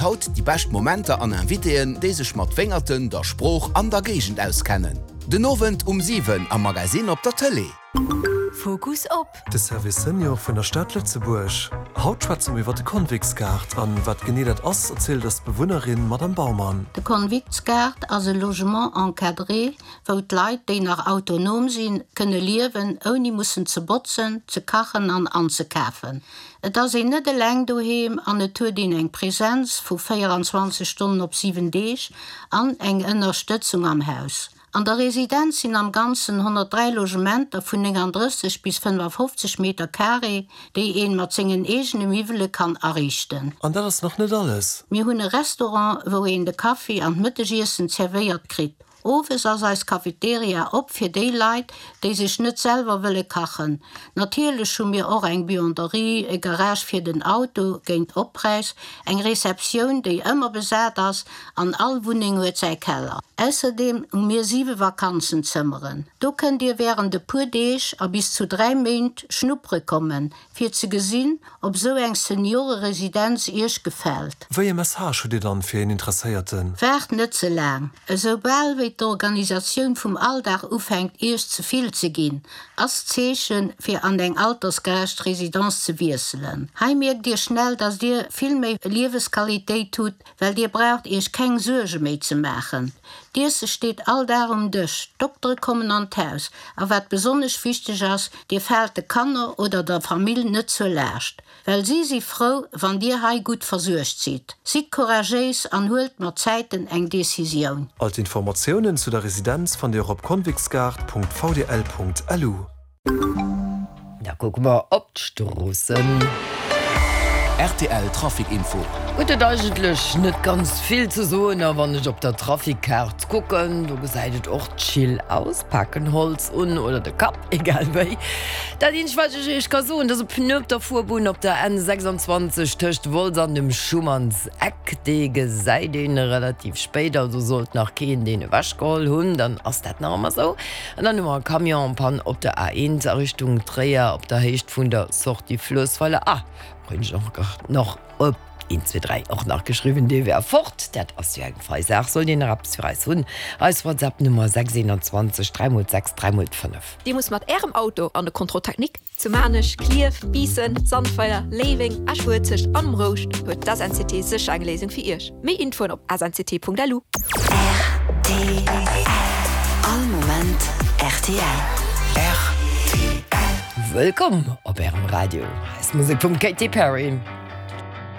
haut déi bescht Momenter an Invitéen, déi sech mat Wéngerten, der Sprooch an der Géigend auskennen. Den Owend um 7 am Magasinn op der Tëlee. Fokus op. De Service Senior vun der Stad Lëtzebuerg. Haut schwätze mer iwwer de Konviktsgaart an wat genee dat ass, erzielt eis d'Bewunnerin Madame Baumann. De Konviktsgaart ass e Logement encadré, wou d'Leit, déi nach autonom sinn, kënne liewen, ouni mussen ze botzen, ze kachen an anzekafen. Et ass een net eleng doheem an et huet een eng Präsenz vu 24 Stonnen op 7 Deeg an eng Ënnerstëtzung am Haus. An der Residenz sinn am Ganzen 103 Logementer vun 39 bis 55 Meter Carré, déi een mat sengen eegene Miwwele kann ariichten. An dat ass nach net alles. Mir hunn e Restaurant, wou een de Kaffi an d'Mëttegiessen zerwéiert kritt. Owes ass eis Cafeteria op fir déi Leit, déi sech net selwer wëlle kachen. Natierlech hu mir och eng Buanderie, e Garage fir den Auto géint Oppräis, eng Receptioun, déi ëmmer besat ass, an all Wunneng huet säi Keller. Ausserdeem hu mir siwe Vakanzenzëmmeren. Do kënnt Dir wärend e puer Deeg a bis zu 3 Méint schnuppere kommen, fir ze gesinn, ob sou eng Senioreresidenz Iech gefält. Wéi e Message hutt Dir dann fir een Interesséierten? Waart net ze laang. Esou bal wéi d'Organisatioun vum Alldag ufänkt Iech ze vill ze ginn, ass d'Zeechen, fir an eng altersgerecht Residence ze wiesselen. Hei mierkt Dir schnell, dass Dir vill méi Liewesqualitéit hutt, well Dir braucht Iech keng Suerge méi ze maachen. D'Iesse steet all Dag um Dësch, d'Doktere kommen an d'Haus a wat besonnesch wichteg ass, Dir faalt de Kanner oder der Famill net zur Laascht, well si si frou, wann Dir hei gutt versuergt sidd. Sidd couragéis an huelt mat Zäiten eng Decisioun. All d'Informatiounen zu der Residenz fannt Dir och op konviktsgaart.vdl.lu. Da kucke mer op d'Stroossen. Rtl Trafic Info. Gëtt et eigentlech net ganz vill ze soen a wann ech op der Trafikkaart kucken, do gesäit et och chill aus. Paken Holz un oder de Kapp, egal wéi. Dat eenzegt wat ech iech ka soen, dass e Pneu op der Fuerbunn op der N 26 tëscht Wolz an dem Schumanns Eck, dee gesäit een relativ spéit, also sollt nach keen deen ewech geholl hunn, dann ass dat nach ëmmer sou. An dann hu mer e Camion en panne op der A1 a Richtung Tréier op der Héicht vun der Sortie Fluessweiler. Ah, hunn ech och nach op 1, 2, 3 och nach geschriwwen, dee wär fort. Dat ass jo eng fei Saach. Sollt een nach eppes fir eis hunn, eis WhatsApp-Nummer 6 21 3 mol 6 3 mol 5. Dir musst mat Ärem Auto an de Contrôle technique? Zu Maarnech, Klierf, Biissen, Sandweiler, Léiweng, Esch-Uelzecht an um Rouscht huet d'SNCT sécher eng Léisung fir Iech. Méi Infoen op snct.lu. Rtl All Moment rtl. Rtl. Wëllkomm op Ärem Radio. Hei ass Musek vum Katy Perry.